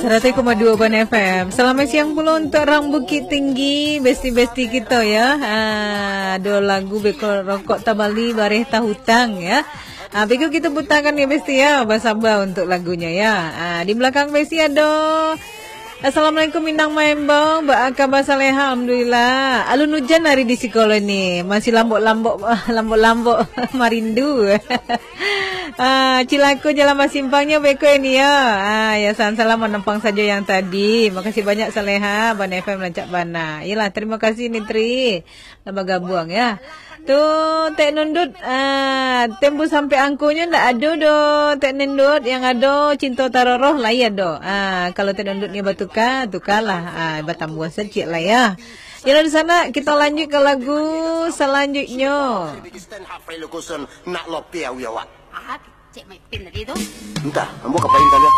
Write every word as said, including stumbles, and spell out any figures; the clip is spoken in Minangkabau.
Seratus koma dua Ban F M. Selamat siang pulo untuk orang Bukittinggi, besti-besti kito ya. Ah, ado lagu beko rokok tabali bareh tahutang ya. Ah, beko kito putakan ya besti ya. Basaba untuk lagunyo ya. Ah, di belakang besti ado Assalamualaikum Minang Maembong, baa kaba Saleha? Alun ujan hari di siko ni. Masih lambok-lambok lambok-lambok marindu. Ah, cilako jalan basimpangnyo beko ini ya. Ah, ya salam-salam manampang sajo yang tadi. Makasih banyak Saleha, Ban F M rancak bana. Iyalah, terima kasih ni Tri. Lah bagabuang ya. Tu Tek Nundut, ah, tembu sampai angkonyo ndak ado doh Tek Nundut. Yang ado cinto taroroh lai ado. Ah, kalau Tek Nundut ni batuka, tukalah. Ah, batambuah saciak lah ya. Yalah di sana kita lanjut ke lagu selanjutnya. Nak lopi awi awak. Ah, cek main pin tadi tu. Entah, ambo kapain tadi.